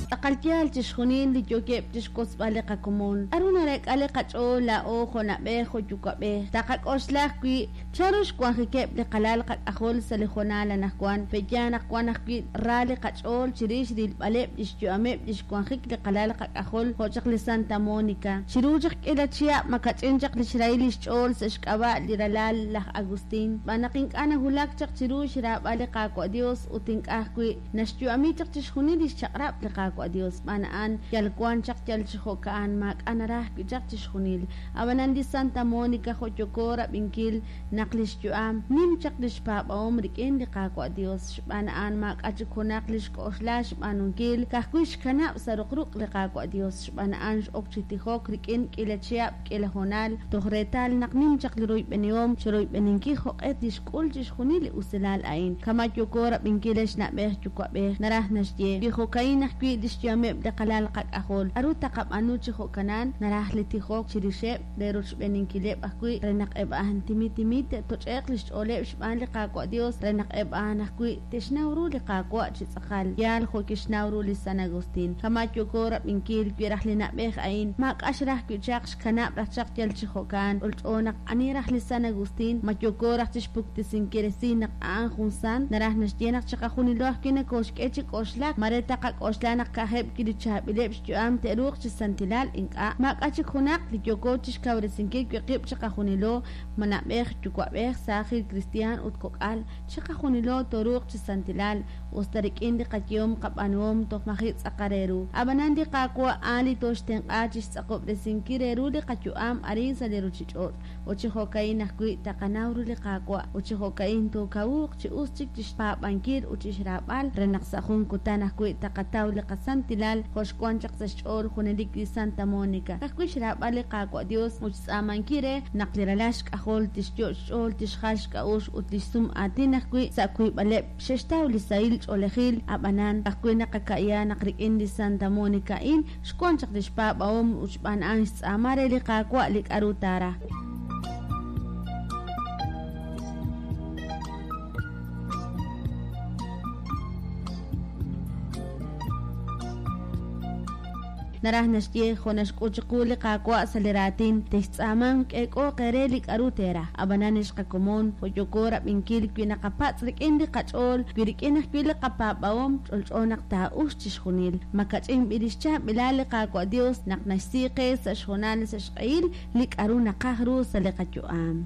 Tz'aqal yaal chixjunil li yookeb' chixwotzb'al li qakomon. K'a'ru nareek'a li qach'ool laa'o jo' na'b'ej jo' yuwa'b'ej? Taqak'oxla ajwi' chanru xwanjikeb' li qalal qak'ajol sa' li hoonal anajwan. Pe'yaal naq wan ajwi' ra li qach'ool chirix rilb'aleb' lix yu'ameb' lix wanjik li qalal qak'ajol jo' chaq li Santa Monica. Chiru chaq k'iila chihab' makach'in chaq lix rahil lix ch'ool sa' xk'ab'a' li ralal laj Agustin, xb'aan naq ink'a' nawulak chaq chiru xraab'al li Qaawa' Dios ut ink'a' ajwi' naxyu'ami chaq chixjunil lix chaq'rab' li Qaawa' Dios. Xb'aan a'an yal wan chaq yal chi jo'ka'an, maak'a' naraj wi' chaq chixjunil. Ab'anan li Santa Monica jo' yooko rab'inkil naq lix yu'am nim chaq lix paab'ahom rik'in li Qaawa' Dios. Xb'aan a'an maak'a' chik junaq li xk'oxla xb'aanunkil, ka'ajwi' xkanab' sa' ruqruq' li Qaawa' Dios. Xb'aan a'an x'ok chi tijok rik'in k'iila chihab' k'iila hoonal, toj reetal naq nim chaq li royb'enihom chiroyb'eninkil jo'q'e tixk'ul chixjunil li usilal a'in. Kama' yooko rab'inkil ex na'b'ej yuwa'b'ej, naraj naxye, wi jo'ka'in ajwi' lix yu'ameb' li qalal qak'ajol, k'a'ru taqab'aanu chi jo'kanan? Naraj li tijok chirixeb' re rochb'eeninkileb' ajwi' re naq eb' a'an timid timid te'toch'e'q lix ch'ooleb' xb'aan li Qaawa' Dios re naq eb' a'an ajwi' te'xnaw ru li Qaawa' chi tz'aqal yaal jo' kixnaw ru li San Agustin. Kama' yooko rab'inkil wi raj li na'b'ej a'in maak'a' xraj wi' chaq xkanab' raj chaq yal chi jo'kan, ch'olch'o naq ani raj li San Agustin, ma yooko raj chixpuktesinkil resil naq a'an jun sant? Naraj naxye naq chiqajunilo ajwi' nokooxk'e chi k'oxlak, mare taqak'oxla naq ka'ajeb' wi' li chaab'ileb' xyu'am te'ruuq chi santilal, ink'a', maak'a' chik junaq li yooko chixkawresinkil wi' qib' chiqajunilo, ma na'b'ej, yuwa'b'ej, saajil kristiaan ut kok'al, chiqajunilo tooruuq chi santilal, us ta rik'in li qayehom qab'aanuhom toj maji' tz'aqal re ru. A'b'anan li Qaawa' a'an li tooxtenq'a chixtz'aqob'resinkil re ru li qayu'am arin sa' li ruchich'och', ut chi jo'ka'in ajwi' taqanaw ru li Qaawa', ut chi jo'ka'in tookawuuq chi us chik chixpaab'ankil ut chixraab'al, re naq sa' jun kutan ajwi' taqataw li qasantilal jo' xwan chaq sa' xch'ool junelik li Santa Monica, ka'ajwi' xraab'al li Qaawa' Dios ut xtz'aamankil re naq li ralal xk'ajol tixyo' xch'ool tixjal xk'a'uxl ut lix sum aatin ajwi' sa' wiib'aleb' xe'xtaw li sahil ch'oolejil, a'b'anan, ka'ajwi' naqaka'ya naq rik'in li Santa Monica a'in xwan chaq lix paab'ahom ut xb'aan a'an xtz'aama re li Qaawa' li k'a'ru taaraj. Naraj naxye, jo' naxk'ut chiqu li Qaawa' sa' li raatin, textz'aamanq k'eek'ooq eere li k'a'ru teeraj. Ab'anan ex qakomon, jo' yooko rab'inkil, wi naqapatz' rik'in li qach'ool, wi rik'in ajwi' li qapaab'ahom, ch'olch'o naq taa'uxq chixjunil. Ma kach'in b'i lix chaab'ilal li Qaawa' Dios naq naxsi qe sa' xhoonal sa' xq'ehil li k'a'ru naqaj ru sa' li qayu'am.